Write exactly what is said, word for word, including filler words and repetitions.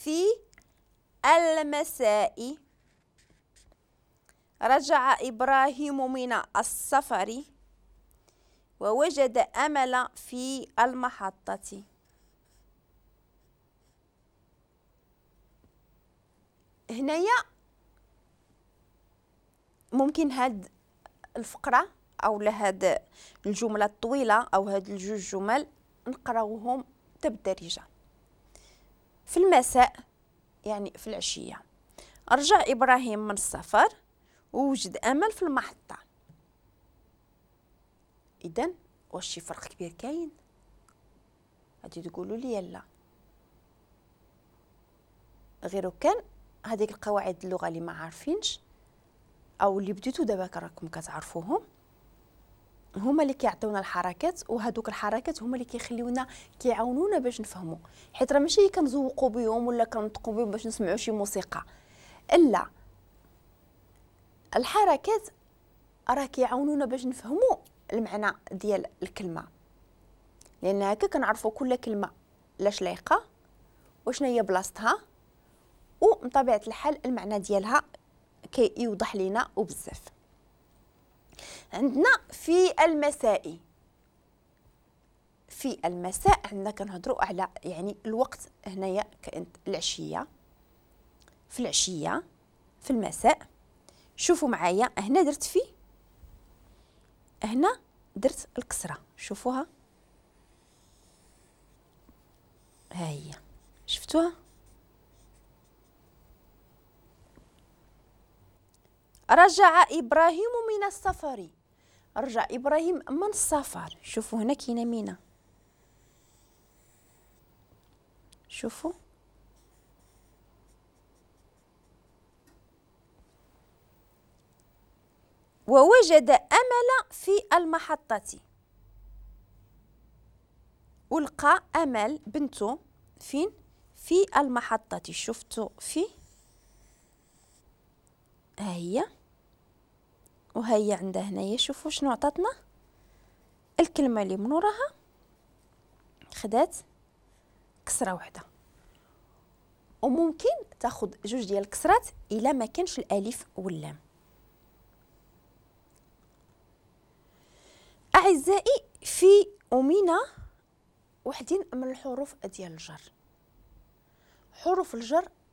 في المساء. رجع إبراهيم من السفر ووجد أمل في المحطة. هنايا ممكن هاد الفقرة أو لهاد الجملة الطويلة أو هاد الجوج جمل نقراوهم بالدارجة. في المساء يعني في العشية رجع إبراهيم من السفر ووجد أمل في المحطة. إذن واش شي فرق كبير كاين؟ غادي تقولوا لي لا، غير كان هذيك القواعد اللغة اللي ما عارفينش أو اللي بديتو دابا راكم كتعرفوهم هما اللي كيعطيونا الحركات، وهذوك الحركات هما اللي كيخليونا كيعاونونا باش نفهموا، حيت راه ماشي كنزوقوا بهم ولا كنطقوا بهم باش نسمعوا شي موسيقى، الا الحركات راه كيعاونونا باش نفهموا المعنى ديال الكلمة، لان هكا كنعرفوا كل كلمة لاش لايقة وشنو هي بلاصتها، ومن طبيعة الحال المعنى ديالها كيوضح لينا وبزاف. عندنا في المساء، في المساء عندنا كنهضروا على يعني الوقت هنايا كانت العشية، في العشية في المساء. شوفوا معايا هنا درت في، هنا درت الكسرة، شوفوها ها هي، شفتوها؟ رجع إبراهيم من السفر، رجع إبراهيم من السفر. شوفوا هنا كاينه مينا، شوفوا ووجد أمل في المحطة، ولقى أمل بنته فين؟ في المحطة. شفتوا في ها هي، وهي عندها هنايا. شوفوا شنو عطاتنا الكلمة اللي من وراها، خدات كسره وحده، وممكن تاخذ جوج ديال الكسرات الا ما كانش الالف واللام. اعزائي في ومينا وحدين من الحروف ديال الجر. حروف الجر